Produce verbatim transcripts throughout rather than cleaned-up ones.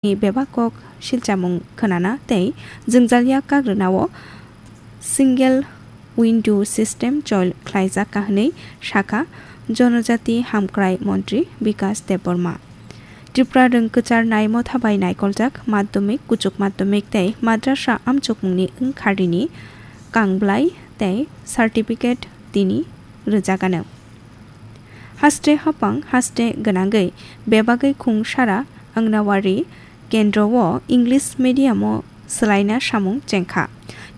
ni bebak kok silchamung khwnana tei jwngjalya kak rwnao single window system chol khlaijak ka hwnwi sakha Jonojati Hamkrai Montri Bikas Debbarma. Tripura rwng kwcharnai motha bai naikoljak madhyamik, kuchuk madhyamik tei madrasa amchukmungni wngkharini kangblai tei certificate tini rwjagano. Haste hapang haste gwnangwi bebagwi khungsara Anganwadi kendro o English medium o swlaina samung chengkha.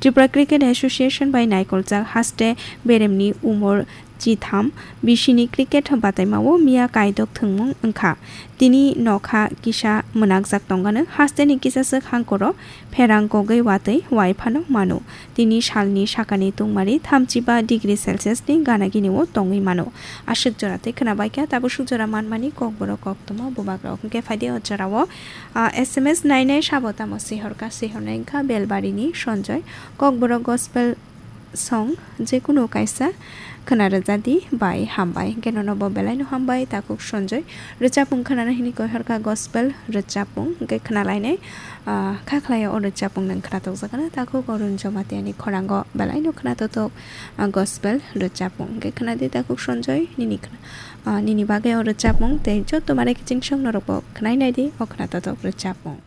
Tripura Cricket Association bai naikoljak haste beremni umor chitham bisini cricket bataimao miya kaidok thwngmung wngkha. Tini nokha kisa mwnakjak tongano hasteni kisaswk hangkoro pherang kogwi watwi wai phano mano. Tini salni sakani tungmari thamchiba degree Celsius ni gana gini o tongwi mano. Aswk jora tei khwnabaikha tabuk swk jora manmani kokborok koktwma bubagrok. Hwnkhe phaidi o jorao, ah, S M S nainai sabo tamo sihorkha, sihornai wngkha Belbarini Sonjoy. Kokborok gospel song jekunu kaisa khwna rwjadi bai hambai. Hwnkhe nono bo belaino hambai takhuk Sonjoy. Rwchapung khwnana hini koihorkha gospel rwchapung hwnkhe khwnalainai. Ah, kha khlai o rwchapung nwng khwna tokjakgano takhuk Arun Jamatia ni khorango belaino khwna totok, ah, gospel rwchapung. Hwnkhe khwnadi takhuk Sonjoy nini khwna, ah, nini bagwi o rwchapung tei joto mare kiching song norok bo khwnai naidi o khwna totok rwchapung.